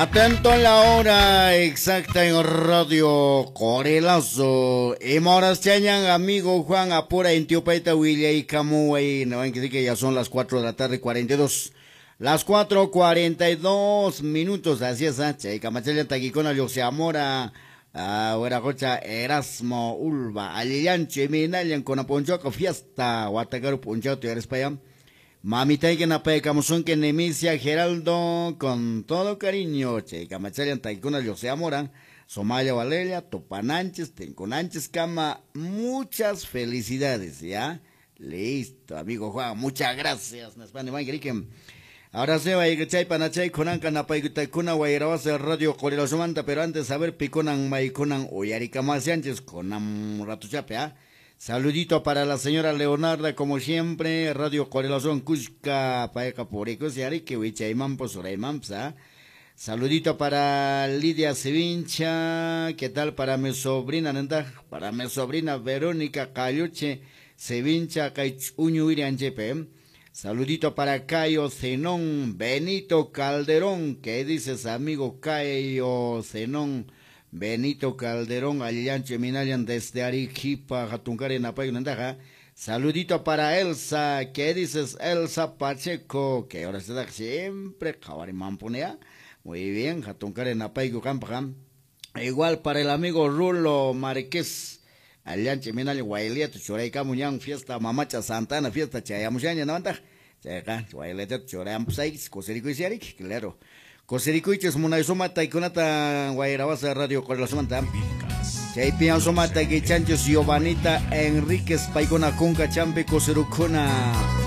Atento a la hora exacta en Radio Corelazo. Y chañan, amigo Juan, apura en Tiopaita, Willaycamuay. No ven que sí que ya son las 4 de la tarde, 42. Las 4:42 minutos, así es, ¿eh? Chay Taquicona, Amora, Hueracocha, Erasmo, Ulva, Alillancho, Minallan, Conaponchoco, Fiesta, Guatacaru, Punchato, y Arespaya. Mamita que napaykamusunki Nemisia Geraldo con todo cariño. Chay kamachallan taykuna Amora, Somaya Valeria, Topananches, Tenconanches, Cama, muchas felicidades, ¿ya? Listo, amigo Juan, muchas gracias. Ahora se va a ir chay panachay kunanka napaykutakuna wayrawasa Radio Corilosumanta, pero antes a ver piconan maykunan uyarikamasianches kunan ratuchape, ¿ah? Saludito para la señora Leonarda, como siempre, Radio Corelación Cusca, Paeca Puricos, y Arique, Wichaimampo, Suraimampa. Saludito para Lidia Sevincha, ¿qué tal? Para mi sobrina, ¿nenda? Para mi sobrina Verónica Cayuche Sevincha, Caichuñu Irianchepe. Saludito para Cayo Zenón, Benito Calderón, ¿qué dices, amigo Cayo Zenón? Benito Calderón, Allanche Minallan desde Arequipa, Jatuncari, Napay, Nandaja. Saludito para Elsa, ¿qué dices, Elsa Pacheco? Que ahora se da siempre, Mampunea. Muy bien, Jatuncari, Napay, Campa. Igual para el amigo Rulo Márquez, Allanche Minallan, Guailiato, Choraica, Muñán, fiesta Mamacha Santana, fiesta Chayamushaña, Navanta. Chayacá, Guailiato, Chorampsais, Coserico y Siarik, claro. Cosericoiches munaysumata taykunata wayrawasa Radio Correlacionmanta. Chaypian sumata kichanchis Giovanita Enríquez paykuna kunka champi coserukuna.